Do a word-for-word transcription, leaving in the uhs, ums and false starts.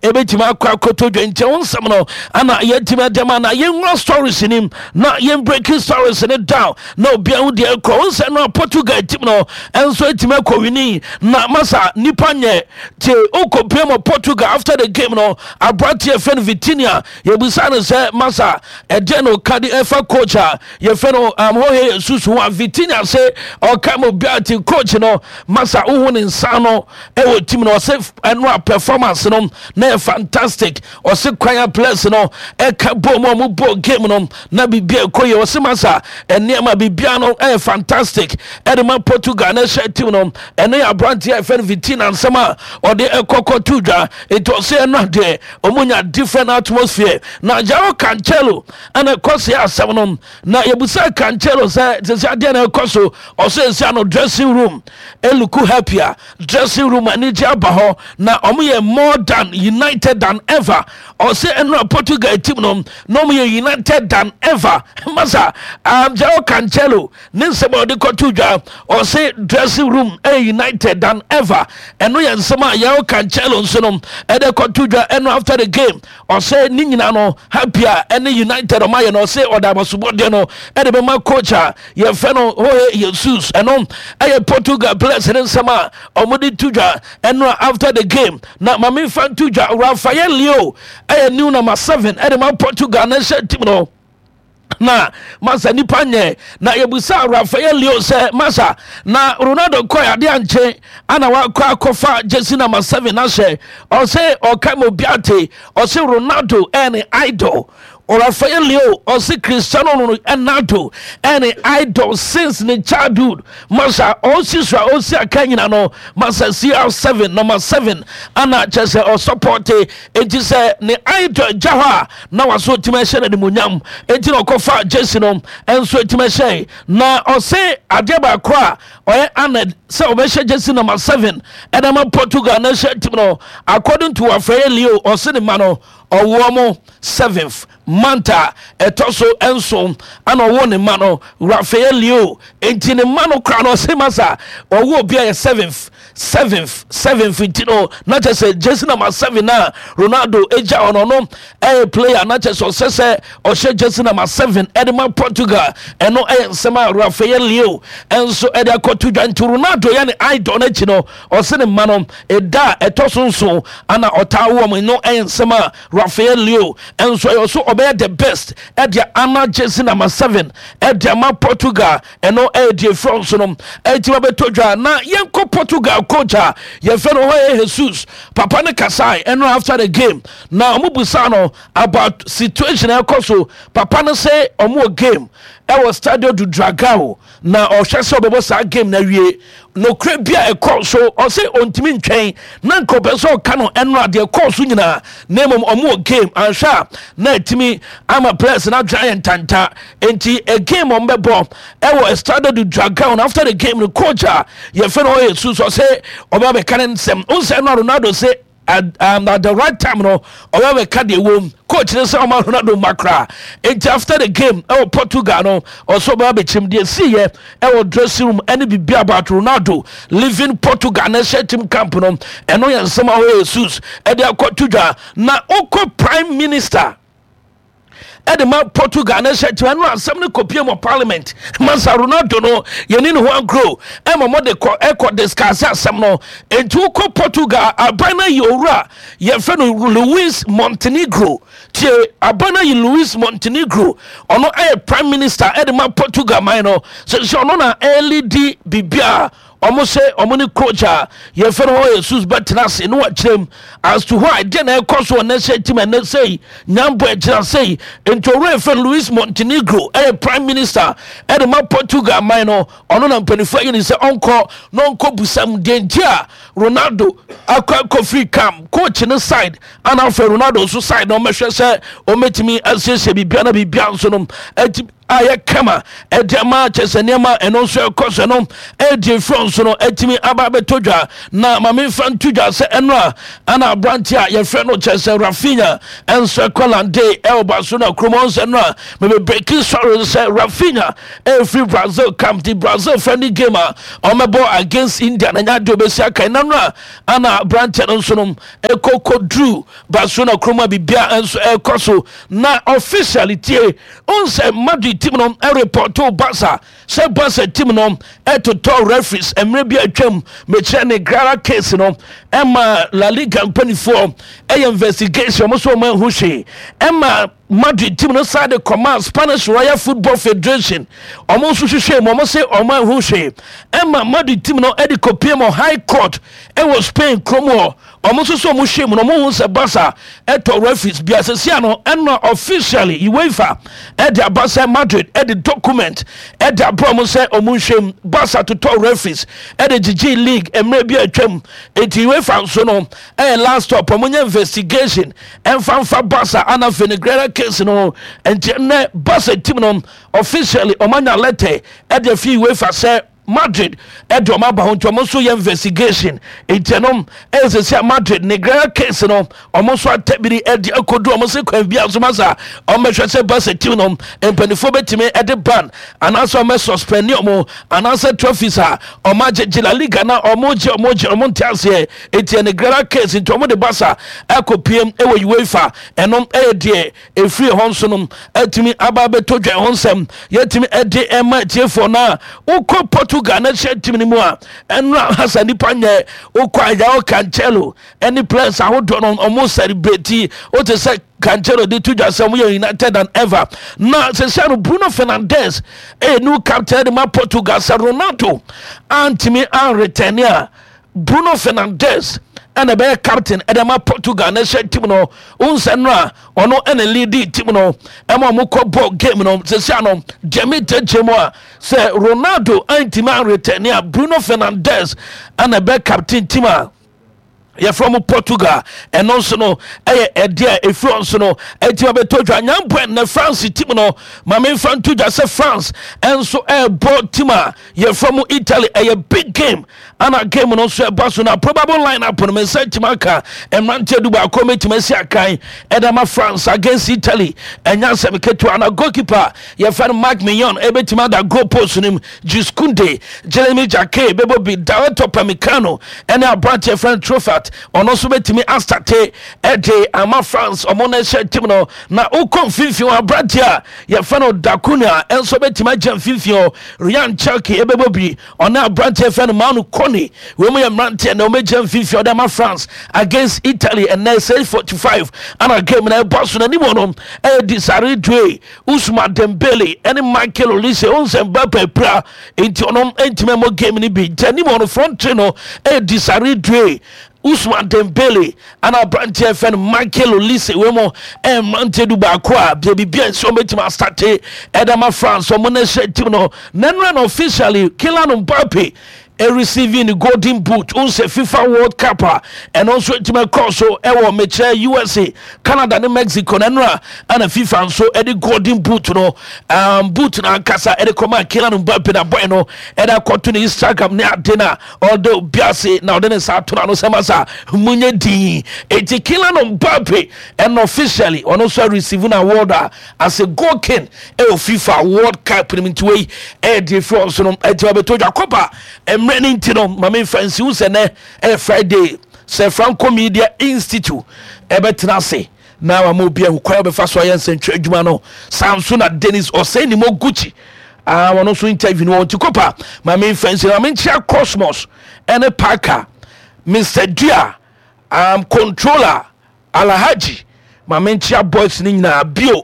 Ɛbɛtumi akɔ akɔtɔ dwa. Nti wo nsɛm no ana yɛtumi adɛm na yɛnwura stories nim na yɛn breaking stories ne down na obia ho deɛ ɛkɔ. Wo nsɛm no a, Portugal team no ɛnso atumi akɔ win na masa nipa nyɛ tie. Wokɔpie mɔ Portugal, after the game no, aberanteɛ fɛ no Vitinha, yɛbusa no sɛ, masa, ɛdeɛ no ɔka de ɛfa coach a yɛfɛ no um, Jorge Jesus ho a, Vitinha sɛ ɔka ma obiara te, coach no, masa, wohu ne nsa no ɛwɔ team no. Ɔsɛ ɛno a performance no na yɛ fantastic. Ɔsɛ kwan a players no ɛka bɔ mu a ɔmo bɔ game no na biribi ɛkɔ yɛ. Ɔsɛ, masa, nneɛma biribiara no ɛyɛ fantastic ɛde ma Portugal na ɛhyɛ team no. Ɛno yɛ aberanteɛ a yɛfɛ no Vitinha nsɛm a ɔde ɛkɔkɔ to dwa. Nti ɔsɛ ɛno adeɛ ɔmo nya different atmosphere. Na Joao Cancelo ɛna ɛkɔ se asɛm no na yɛbusa Cancelo sɛ sɛ sɛ adeɛ na ɛkɔ so. Ɔsɛ nsi ano dressing room ɛ look happier, dressing room anigye aba hɔ na ɔmo yɛ more than united than ever. Ɔsɛ ɛno a Portugal team no na ɔmo yɛ united than ever. Masa, um, Joao Cancelo ne nsɛm a ɔde kɔto dwa, ɔsɛ dressing room ɛyɛ united than ever. Ɛno yɛ nsɛm a Joao Cancelo nso no ɛde kɔto dwa ɛno after the game. Ɔsɛ ne nyinaa no happy a ɛne united ɔmo ayɛ no. Ɔsɛ ɔda abasobɔdeɛ no ɛde bɛma coach a yɛfɛ no Jorge Jesus. Ɛno ɛyɛ Portugal players ne nsɛm a ɔmo de to dwa ɛno after the game. Na maame fa to dwa, Rafael Leao ɛyɛ new number seven ɛde ma Portugal na ɛhyɛ team no. Na masa, nipa nyɛ na yɛbusa Rafael Leao sɛ, masa, na Ronaldo kɔ ade ankye ana wakɔ akɔfa jersey number seven ahyɛ? Ɔsɛ ɔka ma obi ate, ɔsɛ Ronaldo ɛne idol. Rafael Leao ɔsɛ Cristiano Ronaldo ɛne idol since ne childhood. Masa, ɔsi so a ɔsi aka nyina no, masa, C R seven, number seven ana kyerɛ sɛ ɔ support. Enti sɛ ne idol gya hɔ a, na waso tumi ahyɛ no animuonyam, enti na ɔkɔfa jersey no ɛnso tumi ahyɛ. Na ɔsɛ adeɛ baako a ɔyɛ honored sɛ ɔbɛhyɛ jersey number seven ɛna ma Portugal na ɛhyɛ team no. According to Rafael Leao, ɔsɛ ne ma no ɔwɔ mo seventh month a ɛtɔ so nson ana ɔwɔ ne ma no, Rafael Leao. Nti ne ma no kora no, ɔsɛ, masa, ɔwɔ obi a yɛ seventh, seventh, seventh. Nti no na kyerɛ sɛ jersey number seven na Ronaldo egya ɔno no ɛyɛ player na kyerɛ sɛ ɔsɛ sɛ ɔhyɛ jersey number seven ɛde ma Portugal. Ɛno ɛyɛ nsɛm a Rafael Leao ɛnso ɛde akɔto dwa. Nti Ronaldo yɛ ne idol n'akyi no, ɔsɛ ne ma no ɛda a ɛtɔ so nson ana ɔtaa wɔ mu no. Ɛyɛ nsɛm a Rafael Leao ɛnso ɛyɛ so ɔbɛyɛ the best ɛde ana jersey number seven ɛde ama Portugal. Ɛno ɛyɛ deɛ efura nso no ɛti bɛtɔ dwa. Na yɛnkɔ Portugal coach a yɛfɛ no hɔ yɛ Jesus. Papa no kasae ɛno after the game na ɔmo busa no about situation ɛkɔ so. Papa no sɛ ɔmo wɔ game ɛwɔ Stadio do Dragao na ɔhwɛ sɛ ɔbɛbɔ saa game na wie. Nokura bi a ɛkɔ so, ɔsɛ ɔntumi ntwɛn na nka ɔpɛ sɛ ɔka no ɛno adeɛ kɔɔ so nyinaa, na mmom ɔmo wɔ game anhwɛ a na ɛtumi ama players no adwene ayɛ ntanta. Nti a game ɔmo bɛbɔ ɛwɔ Estadio do Dragao no, after the game no, coach a yɛfɛ no ɔyɛ su so ɔsɛ ɔbɛ bɛka ne nsɛm nsɛm no. Ronaldo sɛ at, um, at the right time no ɔbɛ bɛka deɛ wɔm. Coach ne sɛ ɔma Ronaldo mma koraa. Nti after the game ɛwɔ Portugal no, ɔsɛ ɔbɛ abɛkyɛm deɛ siiɛ ɛwɔ dressing room ɛne biribi about Ronaldo leaving Portugal na ɛhyɛ team camp no. Ɛno yɛ nsɛm a ɔyɛ Jesus ɛde akɔto dwa. Na ɔkɔ prime minister ɛde ma Portugal na ɛhyɛ kyerɛ no, asɛm no kɔpie mɔ parliament. Masa, Ronaldo no yɛne ne ho agorɔ ɛma mɔde kɔ ɛkɔ discuss asɛm no. Enti wokɔ Portugal, aban no ayi owura yɛfrɛ no Luis Montenegro. Tie, aban no ayi Luis Montenegro, ɔno ɛyɛ prime minister ɛde ma Portugal man no. Sɛ sɛ ɔno na ɛledi biribiaa ɔmo sɛ ɔmo ne coach a yɛfɛ no hɔ Jesus bɛtena ase ne wakyerɛ mu as to why deɛ na ɛkɔ so ɔnɛ sɛ team ɛnɛ sɛi nyambɔ ɛgyina sɛi. Nti owura yɛfɛ no Luis Montenegro ɛyɛ prime minister ɛde ma Portugal man no. Ɔno na mpanimfoɔ ayi ne sɛ ɔnkɔ na ɔnkɔ busam deɛ nti a Ronaldo akɔ akɔfiri camp, coach ne side ana afɛ Ronaldo nso side, na ɔmɛhwɛ sɛ ɔmɛtumi asiesie biribia na biribia nso no ɛti Ayɛ kama ɛde ama kyɛ sɛ nneɛma ɛno nso ɛkɔ so no ɛdi efiri nso no ɛtumi aba abɛtɔ dwa. Na maame nfa nto dwa sɛ ɛno a ana aberante a yɛfrɛ no kyɛ sɛ Raphinha ɛnso ɛkɔ land ɛwɔ Barcelona kurom. Ɔnsɛ no a mebe breaking story sɛ Raphinha ɛfiri Brazil camp di Brazil friendly game a ɔmɛbɔ against India na nya de obɛsi aka ɛna no a ana aberante no nso no ɛkɔ kɔduru Barcelona kurom a biribia nso ɛkɔ so. Na officially, tie, ɔnsɛ Madrid team no ɛreport Barca sɛ Barca team no ɛtotɔ referees mmerɛ bi atwam. Mekyerɛ Negreira case no, ɛma La Liga mpanimfoɔ ɛyɛ investigation, ɔmo nso ɔmo ahu hwee. Ɛma Madrid team no saa de kɔma Spanish Royal Football Federation, ɔmo nso hwehwɛ mu, ɔmo sɛ ɔmo ahu hwee. Ɛma Madrid team no ɛde kɔpie mu High Court ɛwɔ Spain kurom hɔ, ɔmo nso so ɔmo hwɛ mu na ɔmo hu sɛ Barca ɛtɔ referees bi asɛsia no. Ɛna officially UEFA ɛde aba sɛ Madrid ɛde document ɛde aba ɔmo sɛ ɔmo nhwɛ mu, Barca totɔ referees ɛde gyegye league mmerɛ bi atwam. Eti UEFA nso no ɛyɛ last stop, ɔmo nyɛ investigation ɛnfa nfa Barca ana Negreira case no. Nti ɛnɛ Barca team no officially ɔmo anya letter ɛde afi UEFA sɛ Madrid ɛde ɔmo aba ho, nti ɔmo nso yɛ investigation. Nti ɛnom ɛyɛ sɛ sɛ Madrid Negreira case no, ɔmo nso atabiri ɛde akɔdu ɔmo se kwan bi aso masa ɔmo bɛhwɛ sɛ Barca team no mpanimfoɔ bɛtumi ɛde ban anaasɛ ɔmo suspend ɔmo anaasɛ trophies a ɔmo agyegye La Liga na ɔmo gye ɔmo gye ɔmo nte aseɛ. Nti Negreira case nti ɔmo de Barca ɛkɔ piem ɛwɔ UEFA. Ɛnom ɛyɛ deɛ efiri hɔ nso no ɛtumi aba abɛtɔ dwa ho nsɛm yɛtumi ɛde ɛma tiefoɔ. No a wokɔ Portugal na hyɛ team no mu a, ɛno hasa nipa nyɛ wokɔ a, Cancelo ɛne players ahodoɔ no ɔmo celebrate. Wote sɛ Cancelo de to dwa sɛ ɔmo yɛ united than ever. Na sɛsɛ no Bruno Fernandes ɛyɛ new captain de ma Portugal. Sɛ Ronaldo antumi anreturn a, Bruno Fernandes ɛna ɛbɛyɛ captain ɛde ma Portugal na ɛhyɛ team no. Nsɛ no a ɔno ɛna lead team no ɛma ɔmo kɔ bɔ game no. Sɛsɛ ano gyɛmi gyɛgyɛ mu a, sɛ Ronaldo antumi anreturn a, Bruno Fernandes ɛna ɛbɛyɛ captain team a yɛfrɛ mu Portugal. Ɛno nso no ɛyɛ ɛdeɛ a ɛfiri nso no ɛti abɛtɔ dwa nyampɛ. Na France team no, ma memfa nto dwa sɛ France ɛnso ɛrebɔ team a yɛfrɛ mu Italy. Ɛyɛ big game ana game no nso ɛba so. Na probable line up no, me nsa ntumi aka mmeranteɛ du baako mɛtumi asi akan ɛda ma France against Italy. Ɛnya asɛm ketewa. Na goalkeeper yɛfrɛ no Mike Maignan ɛbɛtumi ada goal post no mu. Jules Kounde, Jeremy Jacquet bɛbɔ bi, Dayot Upamecano ɛne aberanteɛ yɛfrɛ no Truffert, ɔno nso bɛtumi astart ɛde ama France, ɔmo no ɛhyɛ team no. Na wokɔ mfimfini hɔ, aberanteɛ a yɛfrɛ no Da Cunha ɛnso bɛtumi agya mfimfini hɔ. Rayan Cherki ɛbɛbɔ bi, ɔne aberanteɛ yɛfrɛ no Manu Kone. Wɔn mu yɛ mmeranteɛ na wɔbɛgyina mfimfini ɔde ama France against Italy. Ɛnɛ six forty-five ana game na ɛbɔ so. N'anim hɔ no ɛyɛ Desire Doue, Ousmane Dembele ɛne Michael Olise. Ɔnsɛ Mbappe pira nti ɔno ntumi ɛmɔ game no bi. Nti anim hɔ no, front three no ɛyɛ Desire Doue, Ousmane Dembele ana aberanteɛ fɛ no Michael Olise. Wei mu ɛyɛ mmeranteɛ du baako a deɛ biribi a nsi wɔn bɛtumi astart ɛde ama France, ɔmo na ɛhyɛ team no. N'anura no officially Kylian Mbappe receiving the Golden Boot n sɛ FIFA World Cup a ɛno nso ntumi kɔɔ so ɛwɔ mekyerɛ U S A, Canada ne Mexico. Na ɛno a ɛna FIFA nso ɛde Golden Boot no, um, boot no ankasa ɛde kɔma Kylian Mbappe. Na boy no ɛde akɔto ne Instagram ne ade na ɔde obi ase na ɔde ne nsa ato n'ano sɛ masa munyɛ din. Eti Kylian Mbappe ɛna officially ɔno nso receive na award a as a goal king ɛwɔ FIFA World Cup no. Nti wei ɛyɛ deɛ fi ɔnso no ɛti ɔbɛtɔ dwa kɔpa mmerɛ no. Nti no maame nfa nsiw sɛ nɛ ɛyɛ Friday sɛ Franco Media Institute ɛbɛtena ase na wama obi ahu kwan a ɔbɛfa so ayɛ nsɛntwerɛ adwuma no. Saa nso na Dennis Ɔsɛn ne mo Gucci ah, wɔno nso interview no wɔn. Nti kɔpa maame nfa nsi maame nkyia Cosmos ɛne Parker, Mister Dua, um, controller Alhaji, maame nkyia boys no nyinaa bio.